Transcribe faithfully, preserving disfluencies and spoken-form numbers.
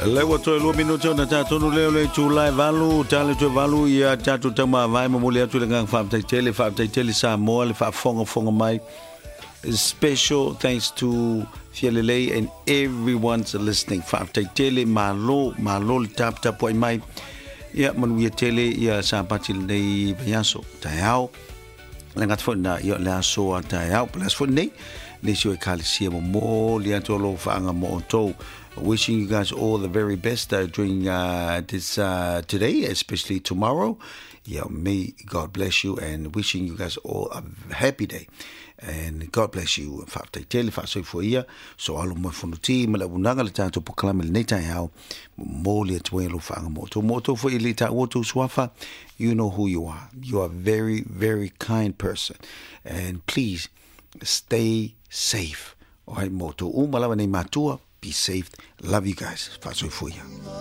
Le ua toe lua minute ona tatonu lea o le itula e valu, tale toe valu ia tatou taumavae momoli atu le agaga faafetai tele, faafetai tele Samoa le faafogafoga mai. Special thanks to Fialelei and everyone's listening. Faafetai tele, malo, malo le taputapuai mai. Ia manuia tele ia Sapati lenei vaiaso. Taeao. Le gata foi na ia le aso a taeao. Po le aso foi lenei. Nisi o ekalesia momoli atu alofaaga mo outou. Wishing you guys all the very best uh, during uh, this uh, today, especially tomorrow. Yeah, may God bless you and wishing you guys all a happy day. And God bless you. Faafetai tele faasoifua ia. So alo mo fonuti ma le unaga le tatou polokalame lenei taeao. Momoli atu ai alofaaga mo outou. Mo outou foi e le taua outou suafa. You know who you are. You are a very, very kind person. And please stay safe. Alright, mo outou uma lava nei matua. Be safe. Love you guys. Faasoifua ia.